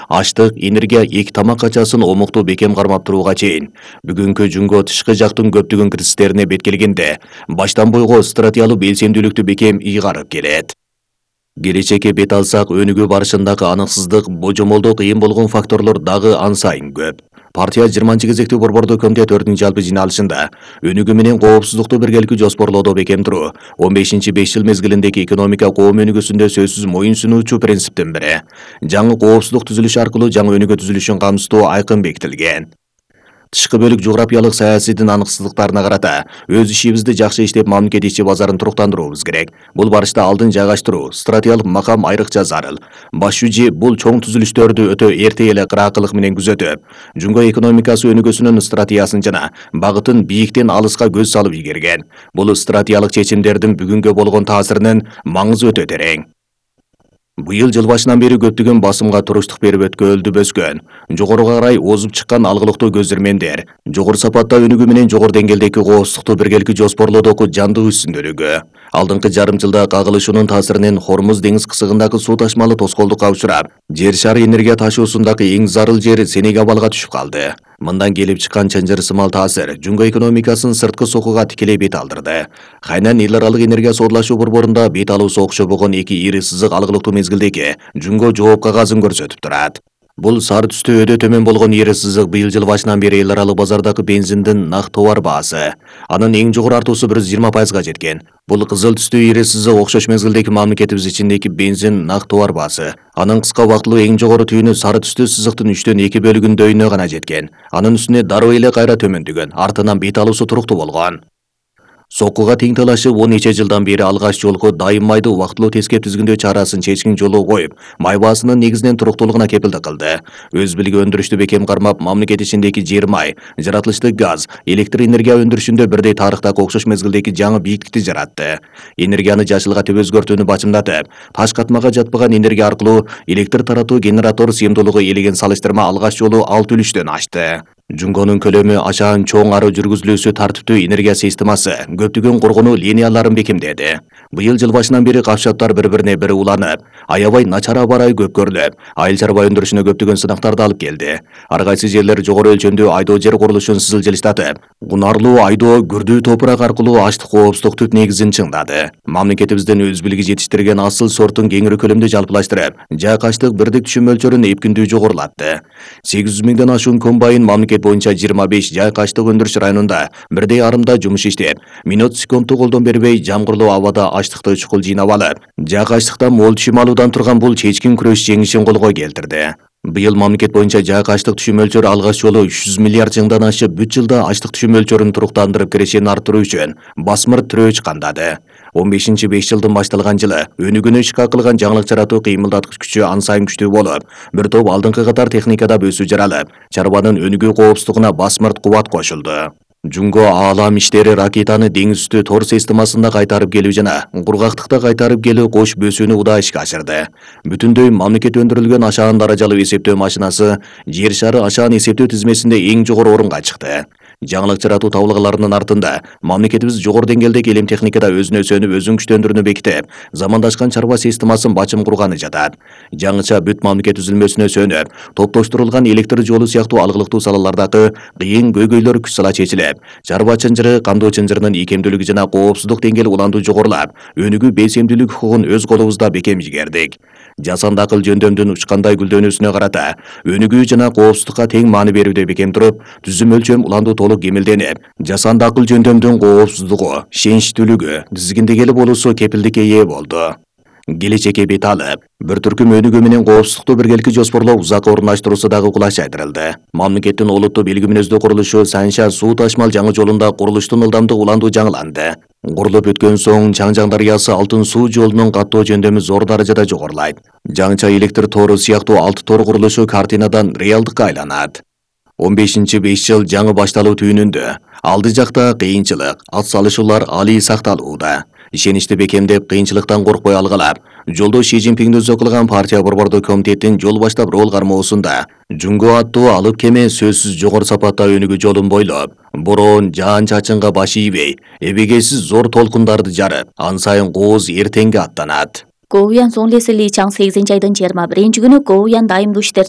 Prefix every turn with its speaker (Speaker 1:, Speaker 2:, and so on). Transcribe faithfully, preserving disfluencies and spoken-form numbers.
Speaker 1: аштык, энергия, эки тамак качасын омуктуу бекем кармап турууга чейин бүгүнкү Жунго тышкы жактын көптөгөн кирсистерине бет келгенде баштан бойго стратегиялык белсемдүүлүктү бекем ыйгарып келет. Келечекке бет алсак, өнүгүү барышындагы аныксыздык, божомолдоо кыйын болгон факторлор дагы ан сайын көп. Партия жыйырманчы кезектүү борбордуу комитет төртүнчү жалпы жыйналышында өнүгүү менен коопсуздукту биргеликте жоспорлоодо бекем туруу он бешинчи беш жыл мезгилиндеги экономика коом өнүгүүсүндө сөзсүз моюн сунуучу принциптин бири. Жаңы коопсуздук түзүлүш аркылуу жаңы өнүгүү түзүлүшүн камсыздоо айкын бекитилген. Тышкы бөлүк жографиялык саясийдин аныксыздыктарына карата өз ишибизди жакшы иштеп, мамлекет ичи базарын туруктандырууубуз керек. Бул барышта алдын жайгаштыруу, стратегиялык макам айрыкча зарыл. Баш жүчү бул чоң түзүлүштөрдү өтө эрте эле кыраакылык менен күзөтүп, Жунго экономикасы өнүгүүсүнүн стратегиясын жана багытын бийиктен алыска көз салып ийгерген. Бул стратегиялык чечимдердин бүгүнгө болгон таасиринин маңызы өтө терең. Быйыл жыл башынан бери көптөгөн басымга туруштук берип өткөлдүп өскөн, жогоруга карай озуп чыккан алгылыктуу көзөрмөндөр, жогору сапатта өнүгүү менен жогору деңгээлдеги коопсуздукту биргеликте жоспорлоодогу жандуу үстүндөлүгү. Алдыңкы жарым жылда кагылышуунун таасиринен Хормуз деңиз кысыгындагы суу ташмалы тоскоолдукка учурап, жер шары энергия ташуусундагы эң зарыл жер Сенегалга түшүп калды. Мындан келип чыккан чынжыр сымал таасир Жунго экономикасын сырткы сокууга тикелей бет алдырды. Хайнан эл аралык энергия соорлашуу борборунда бет алуусу окшобогон эки ири сызык алгылыктуу мезгилдеги Жунго жооп кагазын көрсөтүп турат. Бул сары түстө өдө төмөн болгон ири сызык быйыл жыл башынан бери эл аралык базардагы бензиндин нак товар баасы. Анын эң жогору артуусу бир жүз жыйырма пайызга жеткен. Бул кызыл түстүү ири сызык окшош мезгилдеги мамлекетибиз ичиндеги бензин нак товар баасы. Анын кыска убактылуу эң жогору түйүнү сары түстүү сызыктын үчтөн эки бөлүгүндөйүнө гана жеткен. Анын үстүнө дароо эле кайра төмөндөгөн, артынан бет алуусу туруктуу болгон. Сокууга тең талашып он нече жылдан бери алгач жолку дайым майды убактылуу тескеп түзгүндөө чарасын чечкин жолу коюп, май баасынын негизинен туруктуулугуна кепилдик кылды. Өз билиги өндүрүштү бекем кармап, мамлекет ичиндеги жер май, жаратылыштык газ, электр энергия өндүрүшүндө бирдей тарыхтагы окшош мезгилдеги жаңы бийиктикти жаратты. Энергияны жашылгатып өзгөртүүнү бачымдатып, таш катмага жатпаган энергия аркылуу электр таратуу генератор сыйымдуулугу элеген салыштырма алгач жолу алты үлүштөн ашты. Жунгонун көлөмү ашаан чоң ары жүргүзүлүүсү тартиптүү энергия системасы көптөгөн коргонуу линияларын бекемдеди. Быйыл жыл башынан бери капшаттар бири-бирине бири уланып, аябай начар аба ырайы көпкөрлөп, айыл чарба өндүрүшүнө көптөгөн сынактарды алып келди. Ар кайсы жерлер жогору өлчөмдүү айдоо жер курулушун сызылжилыштатып, кунарлуу айдоо күрдүү топурак аркылуу аштык коопсуздук түп негизин чыңдады. Мамлекетибиздин өз билиги жетиштирген асыл сорттун кеңири көлөмдө жалпылаштырып, жайк аштык бирдик түшүм мөлчөрүн эпкиндүү жогорулатты. сегиз жүз миңден ашуун комбайн мамлекет боюнча жыйырма беш жайк аштык өндүрүш районунда бирдей арымда жумуш иштеп, минут секундту колдон бербей жамгырлуу абада аштыкты чукул жыйнап алып, жайк аштыктан мол түшүм алуудан турган бул чечкин күрөш жеңишин колго келтирди. Быйыл мамлекет боюнча жайк аштык түшүм мөлчөрү алгач жолу үч жүз миллиард жыңдан ашып, бүт жылда аштык түшүм мөлчөрүн туруктандырып кирешени арттыруу үчүн басмыр тирөөч кандады. он бешинчи беш жылдын башталган жылы өнүгүүнү ишке кылган жаңылык жаратуу кыймылдаткыч күчү ан сайын күчтүү болуп, бир топ алдыңкы катар техникада өсүү жаралып, чарбанын өнүгүү коопсуздугуна басмырт кубат кошулду. Жунго аалам иштери ракетаны деңиз үстү тор системасында кайтарып келүү жана кургактыкта кайтарып келүү кош бөсүүнү удаа ишке ашырды. Бүтүндөй мамлекет өндүрүлгөн ашаан даражалуу эсептөө машинасы жер шары ашаан эсептөө тизмесинде эң жогору орунга чыкты. Жаңылык жаратуу табылгаларынын артында мамлекетибиз жогору деңгээлдеги элем техникада өзүнө сөнүп, өзүн күчтөндүрүүнү бекитип, замандашкан чарба системасын бачым курганы жатат. Жаңыча бүт мамлекет түзүлмөсүнө сөнүп, топтоштурулган электр жолу сыяктуу алгылыктуу салалардагы кыйын көйгөйлөр күч сала чечилип, чарба чынжыры, кандоо чынжырынын ийкемдүүлүгү жана коопсуздук деңгээли уландуу жогорулап, өнүгүү белсемдүүлүк укугун өз колубузда бекем ийгердик. Жасанды акыл жөндөмдүн учкандай гүлдөнүүсүнө карата өнүгүү жана коопсуздукка тең маани берүүдө бекем туруп, түзүм өлчөм уландуу толук кемелденип, жасанды акыл жөндөмдүн коопсуздугу, ишеничтүүлүгү, тизгиндегели болуусу кепилдикке ээ болду. Келечекке бет алып, бир түркүм өнүгүү менен коопсуздукту биргеликте жоспорлоо узакка орундаштыруусу дагы кулаш айдырылды. Мамлекеттин олуттуу белги мүнөздүү курулушу Санша суу ташмал жаңы жолунда курулуштун ылдамдык уландуу жаңыланды. Курулуп өткөн соң Чаңжаң дарыясы алтын суу жолунун каттоо жөндөмү зор даражада жогорулайт. Жаңыча электр тору сыяктуу алты тор курулушу картинадан реалдыкка айланат. он бешинчи беш жыл жаңы башталуу түйүнүндө алды жакта кыйынчылык, ат салышуулар алий сакталууда. Ишеничти бекемдеп, кыйынчылыктан коркпой алгалап, жолдо Ши Цзиньпиңди өзү кылган партия борбордуу комитеттин жол баштап рол кармоосунда Жунго аттуу алып кеме сөзсүз жогору сапатта өнүгүү жолун бойлоп, бороон жаан-чачынга баш ийбей, эбегейсиз зор толкундарды жарып, ан сайын кооз эртеңге аттанат.
Speaker 2: Коуян Сонлеси Ли Чаң сегизинчи айдын жыйырма биринчи күнү Коуян дайымдуу иштер